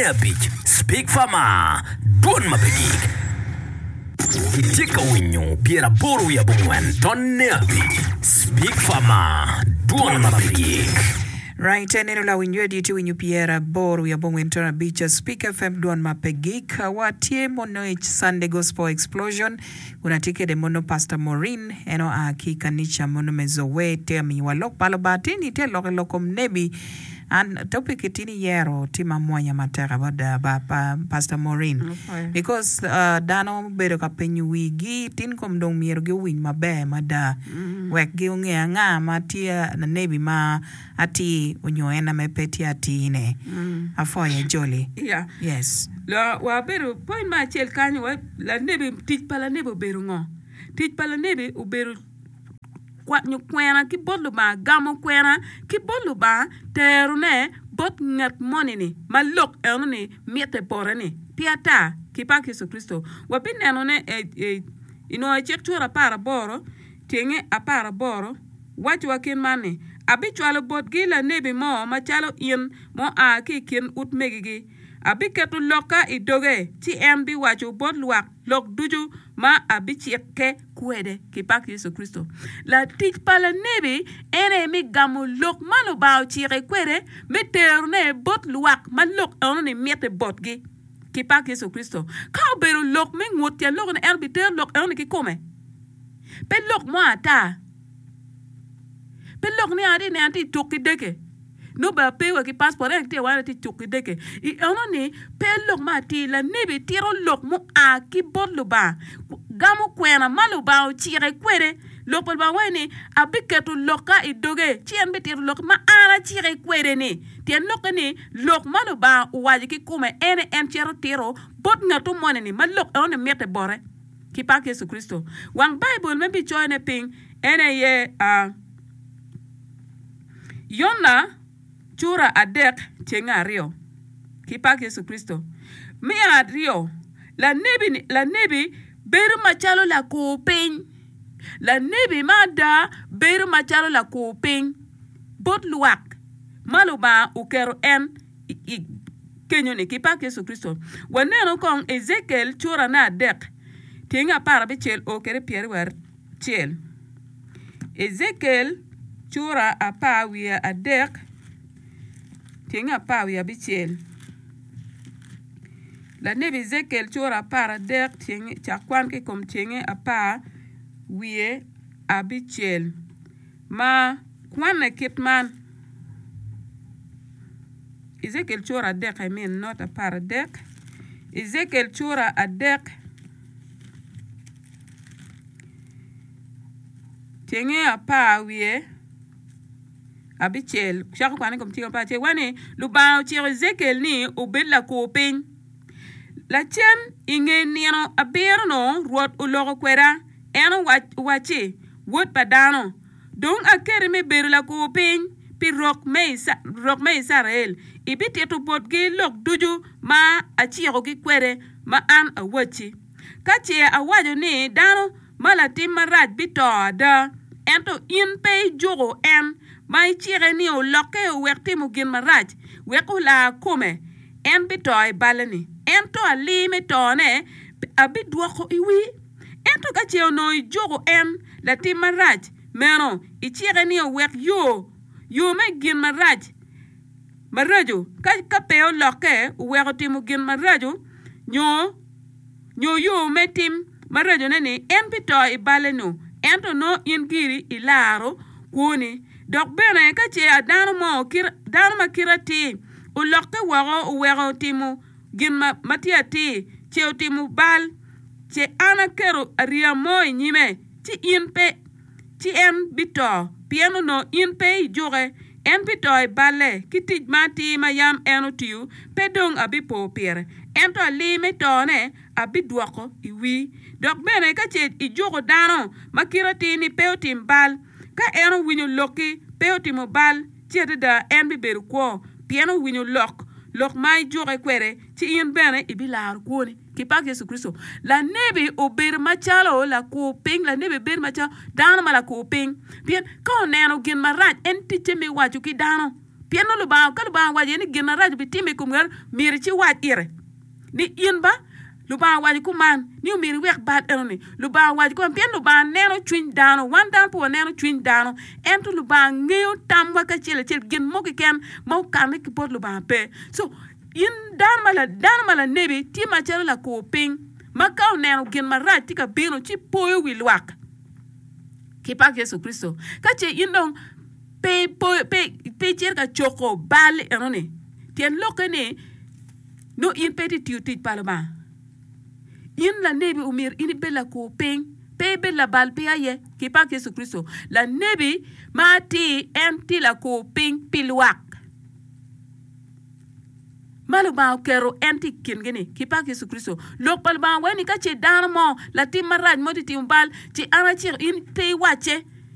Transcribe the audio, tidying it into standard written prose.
abic, Speak Farmer, Dwon ma pe gik. Itye ka winyo 89 tonne abic, Speak Farmer, Dwon ma pe gik. Right, eneno lawiny radio tye winyo 85.5 Speak FM dwon ma pe gik. Wa tye mono i Sunday Gospel Explosion kun atye kede mono Pastor Maureen en oa ki i kanica mono me Zoe tye ka miyowa lok pa Lubanga tye ni tye lok i lok kom nebi An topic ki tin iyero tye ma mwonya matek adada ba Pastor Maureen because dano bedo ka penyo wigi tin kom dong myero gi owiny maber mada wek gi onge anga ma tye lanebi ma atir onyo en ame pe tye atir ne. Apwoyo ajoli. Yes. Wabedo point me acel kany lanebi tic pa lanebi obedo ngo? Tic pa lanebi obedo Kwanyo kwena ki bot Lubanga, gamo kwena ki bot Lubanga, terone bot ngat moni-ni ma lok enoni mitte bote-ni. Pi ata ki pak Yecu Kricito, wabinenone i nwoyo cik cura aparaboro, tyenge aparaboro, wacowa kit man ni, Abicwalo botgi lanebi mo macalo in ma oa ki i kin utmegigi. Abiketo lokka i doge, ci en biwaco bot lwak lok ducu ma abicikke kwede ki pak Yecu Kricito. Latic pa lanebi en aye me gamo lok ma Lubanga ocike kwede me terone bot lwak ma lok enoni mitte botgi ki pak Yecu Kricito. Ka obedo lok me ngut tyen lok ni en obitero lok enoni kikome, pe lok mo ata, pe lok ni atye neno atye tuk ki deke. Nongo bene ape wa ki passport ento tye wa atye cuk ki deke. I eno ni pe lok ma atir lanebi tito lok mua ki bot Lubanga gamo kwena ma Lubanga ocike kwede. Lok pa Lubanga waco ni abiketo lokka i doge ci en bitito lok ma an acike kwede ni. Tyen lokke ni lok ma Lubanga owaco ki kome en aye en cito tito bot ngat moni ni ma lok eno ni mitte bote ki pak Yecu Kricito. Wang Baibul ma ibicoyone piny en aye. Yona cura adek cenge aryo ki pak Yecu Kricito. Me aryo, lanebi lanebi bedo macalo lakur piny. Lanebi ma ada bedo macalo lakur piny bot lwak ma Lubanga oketo en i kenyo-ni ki pak Yecu Kricito. Wanenu kong Ejekiel curane adek tyenge aparabicel o kwede pyeraryo acel. Ejekiel cura apar wiye adek tyeng apar wiye abicel. Lanebi Ejekiel cura apar adek cak kwan ki i kom tyenge apar wiye abicel ma kwanne kit man, Ejekiel cura adek I mean not apar adek Ejekiel cura adek. Tyenge apar wiye abicel cako kwane i kom tyeng apar acel waco ni, Lubanga ociko Ejekiel ni obed lakur piny. Lacen i nge nino abiro-nu Rwot oloko kweda, en owacci, Wod pa dano, dong aketi me bedo lakur piny pi rok me Icrael. Ibitito botgi lok ducu ma acikogi kwede ma an awacci. Ka ce awaco ni dano ma latim marac bito ada, ento in pe ijuko en ma icike ni olokke owek timo gin marac wek olar kome, en bito i balle-ni, ento alii me tone abidwoko i wii. Ento ka ce onongo ijuko en latim marac meno, icike ni owek yo yo me gin marac maraco, ka pe olokke oweko timo gin maraco nyo nyo yo me tim maracone-ni, en bito i balle-nu, ento nongo in giri ilaro kwoni. Dok bene ka ce dano mo, dano ma kite atir, olokke woko oweko timo gin ma tye atir, ce otimo bal, ce an aketo ariya mo i nyime, ci in pe, ci en bito, pien onongo in pe ijuke. En bito i balle, ki tic ma atir ma yam en otiyo, pe dong abipo pire, ento alii me tone abidwoko i wii. Dok bene ka ce ijuko dano ma kite atir ni pe otim bal, ka en owinyo lokki pe otimo bal, ci adada en bibedo kwo, pien owinyo lok, lok ma ijuke kwede, ci in bene ibilaro kwoni. Ki pak Yecu Kricito, lanebi obedo macalo lakur piny, lanebi bedo macalo dano ma lakur piny, pien ka oneno gin marac, en ticce me waco ki dano. Pien nongo Lubanga, ka Lubanga owaco iye ni gin marac obitimme i kom ngat, myero iciwac ire ni in ba Lubanga owaco kuman ni omyero iwek bal enoni. Lubanga owaco kuman pien Lubanga neno cwiny dano. Wan dano pe waneno cwiny dano, ento Lubanga ngeyo tamwa kacel acel, gin mo keken ma okanne ki bot Lubanga pe. So, in dano ma dano ma lanebi tye macalo lakur piny ma ka oneno gin marac tye ka bino ci poyo wi lwak ki pak Yecu Kricito. Ka ce in dong pe pe icito ka coko bal enoni, tyen lokke ni nongo in pe itye tiyo tic pa Lubanga. In lanebi omyero in ibed lakur piny, pe ibed labal piny aye. Ki pak Yecu Kricito, lanebi ma atir en tye lakur piny pi lwak ma Lubanga oketo en tye i kingi-ni. Ki pak Yecu Kricito, lok pa Lubanga waco ni ka ce dano mo latim marac mo tye timo bal, ci an aciko in pe iwacce.